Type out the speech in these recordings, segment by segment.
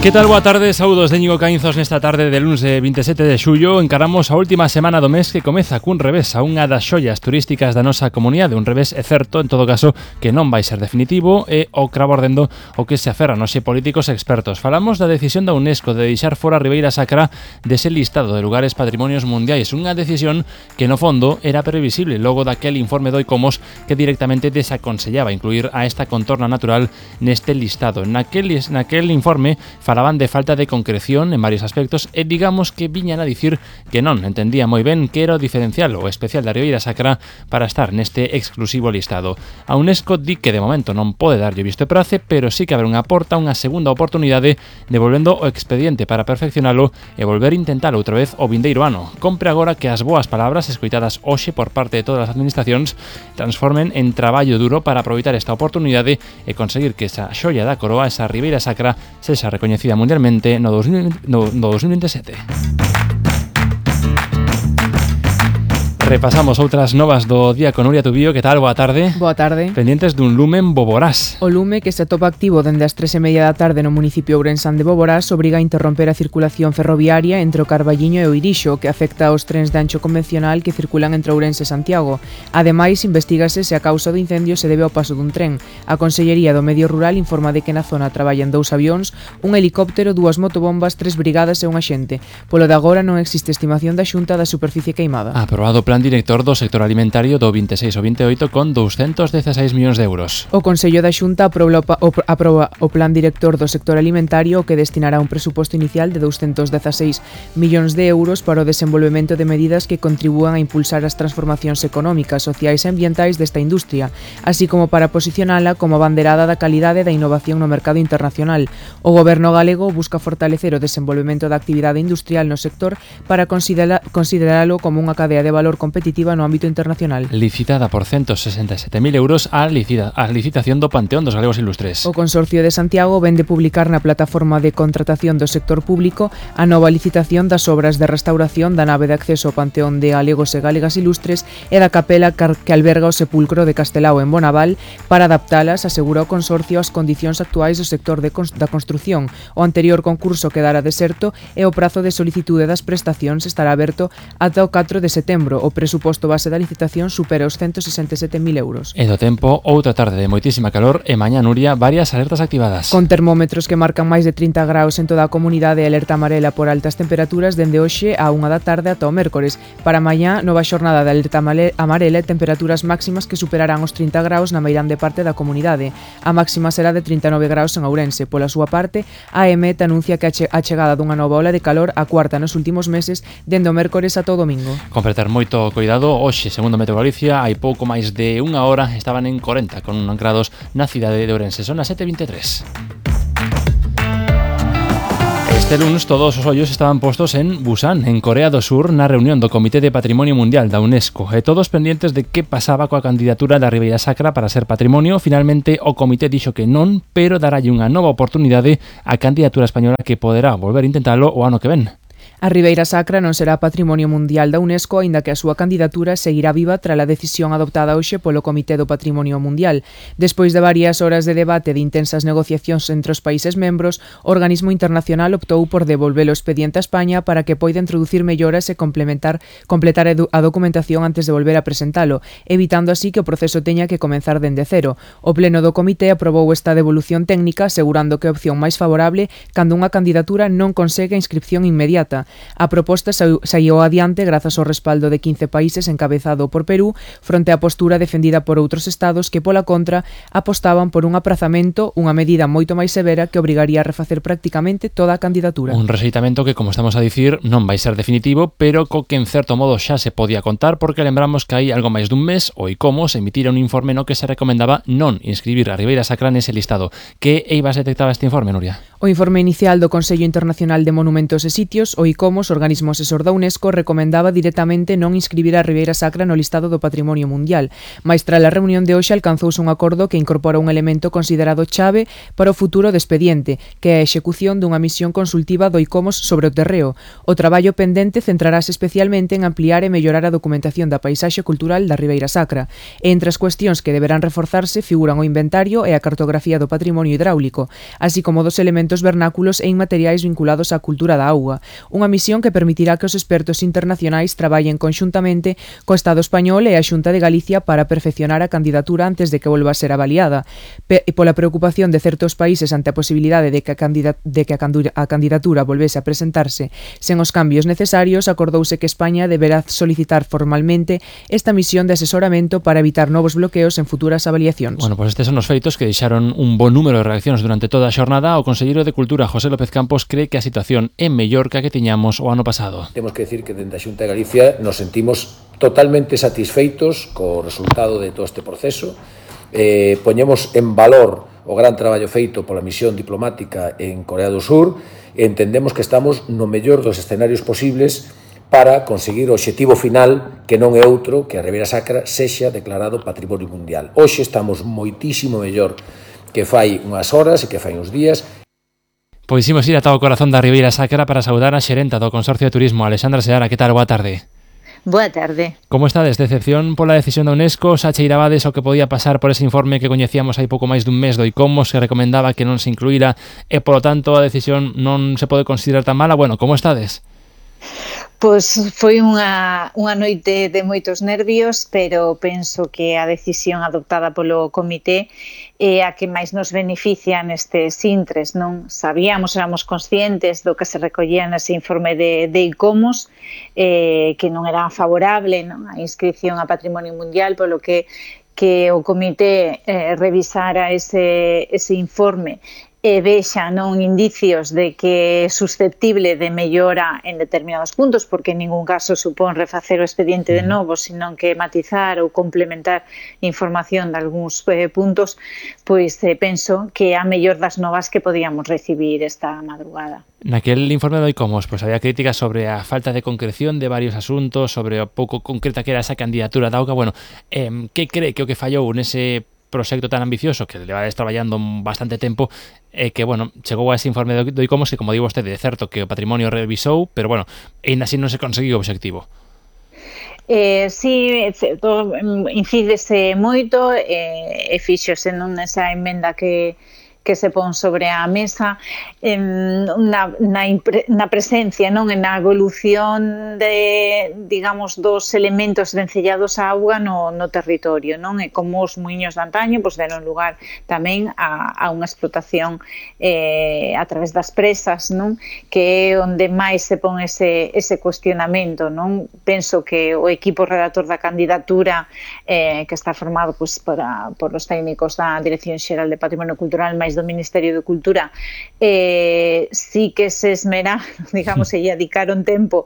Que tal? Boa tarde, saúdos de Íñigo Caínzos nesta tarde de lunes 27 de xullo. Encaramos a última semana do mes que comeza cun revés a unha das xollas turísticas da nosa comunidade. Un revés é certo, en todo caso, que non vai ser definitivo e o cravo ardendo o que se aferran os políticos expertos. Falamos da decisión da UNESCO de deixar fora a Ribeira Sacra dese listado de lugares patrimonios mundiais. Unha decisión que no fondo era previsible logo daquel informe do ICOMOS que directamente desaconsellaba incluir a esta contorna natural neste listado. Naquel informe falaban de falta de concreción en varios aspectos e digamos que viñan a dicir que non entendía moi ben que era o diferencial ou especial da Ribeira Sacra para estar neste exclusivo listado. A UNESCO di que de momento non pode darlle visto e prace, pero sí que abre unha segunda oportunidade devolvendo o expediente para perfeccionalo e volver a intentalo outra vez o vindeiro ano. Compre agora que as boas palabras escoitadas hoxe por parte de todas as administracións transformen en traballo duro para aproveitar esta oportunidade e conseguir que esa xoia da coroa, esa Ribeira Sacra, sexa recoñecida mundialmente no 2027. Repasamos outras novas do día con Nuria Tubío. Que tal? Boa tarde. Boa tarde. Pendientes dun lumen Boborás. O lume que se atopa activo dende as 3:30 da tarde no municipio ourensán de Boborás obriga a interromper a circulación ferroviaria entre o Carballiño e o Irixo, que afecta aos trens de ancho convencional que circulan entre Ourense e Santiago. Ademais, investígase se a causa do incendio se debe ao paso dun tren. A Consellería do Medio Rural informa de que na zona traballan 2 avións, un helicóptero, 2 motobombas, 3 brigadas e un axente. Polo de agora non existe estimación da Xunta da superficie queimada. Aprobado plan director do sector alimentario do 26 ao 28 con 216 millóns de euros. O Consello da Xunta aproba o plan director do sector alimentario que destinará un presuposto inicial de 216 millóns de euros para o desenvolvemento de medidas que contribúan a impulsar as transformacións económicas, sociais e ambientais desta industria, así como para posicionala como abanderada da calidade e da innovación no mercado internacional. O Goberno galego busca fortalecer o desenvolvemento da actividade industrial no sector para consideralo como unha cadea de valor competitiva no ámbito internacional. Licitada por 167.000 euros a licitación do Panteón dos Galegos Ilustres. O Consorcio de Santiago vende publicar na plataforma de contratación do sector público a nova licitación das obras de restauración da nave de acceso ao Panteón de Galegos e Galegas Ilustres e da capela que alberga o sepulcro de Castelao en Bonaval para adaptalas, asegura o Consorcio, ás condicións actuais do sector da construción. O anterior concurso quedara deserto e o prazo de solicitude das prestacións estará aberto ata o 4 de setembro. O presuposto base da licitación supera os 167.000 euros. E do tempo, outra tarde de moitísima calor e mañá, Nuria, varias alertas activadas. Con termómetros que marcan máis de 30 graus en toda a comunidade e alerta amarela por altas temperaturas dende hoxe a 1 da tarde ata o mércores. Para mañá, nova xornada de alerta amarela e temperaturas máximas que superarán os 30 graus na meirande parte da comunidade. A máxima será de 39 graus en Ourense. Pola súa parte, a EMET anuncia que a chegada dunha nova ola de calor, a cuarta nos últimos meses, dende o mércores ata o domingo. Con preter moito cuidado, hoxe, segundo Meteo Galicia, hai pouco máis de unha hora estaban en 40 con 1 grados na cidade de Ourense. Son as 7:23. Este lunes todos os ollos estaban postos en Busan, en Corea do Sur, na reunión do Comité de Patrimonio Mundial da UNESCO, e todos pendientes de que pasaba coa candidatura da Ribeira Sacra para ser patrimonio. Finalmente o comité dixo que non, pero daralle unha nova oportunidade á candidatura española que poderá volver a intentalo o ano que ven. A Ribeira Sacra non será Patrimonio Mundial da UNESCO, aínda que a súa candidatura seguirá viva tras a decisión adoptada hoxe polo Comité do Patrimonio Mundial. Despois de varias horas de debate e de intensas negociacións entre os países membros, o organismo internacional optou por devolver o expediente a España para que poida introducir melloras e completar a documentación antes de volver a presentalo, evitando así que o proceso teña que comenzar dende cero. O pleno do comité aprobou esta devolución técnica, asegurando que é a opción máis favorable cando unha candidatura non consegue a inscripción inmediata. A proposta saíu adiante grazas ao respaldo de 15 países encabezado por Perú, fronte á postura defendida por outros estados que, pola contra, apostaban por un aprazamento, unha medida moito máis severa que obrigaría a refacer prácticamente toda a candidatura. Un rexeitamento que, como estamos a dicir, non vai ser definitivo, pero co que en certo modo xa se podía contar, porque lembramos que hai algo máis dun mes o ICOMOS emitira un informe no que se recomendaba non inscribir a Ribeira Sacra nese listado. Que eivas detectaba este informe, Nuria? O informe inicial do Consello Internacional de Monumentos e Sitios, o ICOMOS, organismo asesor da UNESCO, recomendaba directamente non inscribir a Ribeira Sacra no listado do Patrimonio Mundial. Mais tras a reunión de hoxe alcanzouse un acordo que incorpora un elemento considerado chave para o futuro do expediente, que é a execución dunha misión consultiva do ICOMOS sobre o terreo. O traballo pendente centrarase especialmente en ampliar e mellorar a documentación da paisaxe cultural da Ribeira Sacra. E entre as cuestións que deberán reforzarse figuran o inventario e a cartografía do patrimonio hidráulico, así como dos elementos elementos vernáculos e inmateriais vinculados á cultura da auga, unha misión que permitirá que os expertos internacionais traballen conxuntamente co Estado español e a Xunta de Galicia para perfeccionar a candidatura antes de que volva a ser avaliada. E pola preocupación de certos países ante a posibilidade de que a candidatura volvese a presentarse sen os cambios necesarios, acordouse que España deberá solicitar formalmente esta misión de asesoramento para evitar novos bloqueos en futuras avaliacións. Bueno, pois estes son os feitos que deixaron un bon número de reaccións durante toda a xornada. O conselleiro de Cultura, José López Campos, cree que a situación é mellor que a que tiñamos o ano pasado. Temos que decir que dentro da Xunta de Galicia nos sentimos totalmente satisfeitos co resultado de todo este proceso. Poñemos en valor o gran traballo feito pola misión diplomática en Corea do Sur e entendemos que estamos no mellor dos escenarios posibles para conseguir o obxectivo final, que non é outro que a Ribeira Sacra sexa declarado Patrimonio Mundial. Hoxe estamos moitísimo mellor que fai unhas horas e que fai uns días. Pois imos ir ata o corazón da Ribeira Sacra para saudar a xerenta do Consorcio de Turismo, Alexandra Seara. Que tal? Boa tarde. Boa tarde. Como estades? Decepción pola decisión da UNESCO? Xa cheirabades o que podía pasar por ese informe que coñecíamos hai pouco máis dun mes do ICOMOS, que recomendaba que non se incluíra e, polo tanto, a decisión non se pode considerar tan mala? Bueno, como estades? Pois foi unha noite de moitos nervios, pero penso que a decisión adoptada polo comité é a que máis nos beneficia nestes intres, non? Éramos conscientes do que se recollía nese informe de ICOMOS, que non era favorable, non, a inscripción a Patrimonio Mundial, polo que o comité revisara ese informe e vexa non indicios de que é susceptible de mellora en determinados puntos, porque en ningún caso supón refacer o expediente de novo, senón que matizar ou complementar información de algúns puntos, pois penso que é a mellor das novas que podíamos recibir esta madrugada. Naquel informe do ICOMOS, pois había críticas sobre a falta de concreción de varios asuntos, sobre o pouco concreta que era esa candidatura da auga. Bueno, que cree que o que fallou nese proxecto tan ambicioso que levades traballando bastante tempo que, bueno, chegou a ese informe do ICOMOS que, como digo vostede, é certo que o patrimonio revisou, pero, bueno, ainda así non se conseguiu o obxectivo. Sí, incídese moito e fíxose nesa emenda que se pon sobre a mesa na presencia, non, na evolución de, digamos, dos elementos vencellados á auga no territorio, non? E como os muiños de antaño pois deron lugar tamén a unha explotación a través das presas, non? Que é onde máis se pon ese cuestionamento, non? Penso que o equipo redactor da candidatura que está formado pois por os técnicos da Dirección Xeral de Patrimonio Cultural máis do Ministerio de Cultura sí que se esmera, digamos, e dedicaron tempo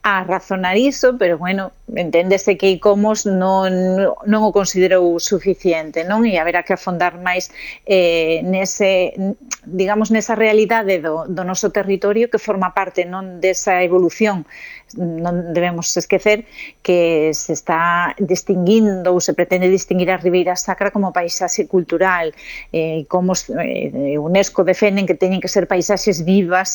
a razonar iso, pero, bueno, enténdese que ICOMOS non o considerou suficiente, non? E haberá que afondar máis nesa realidade do noso territorio que forma parte non desa evolución. Non debemos esquecer que se está distinguindo ou se pretende distinguir a Ribeira Sacra como paisaxe cultural, como UNESCO defenden que teñen que ser paisaxes vivas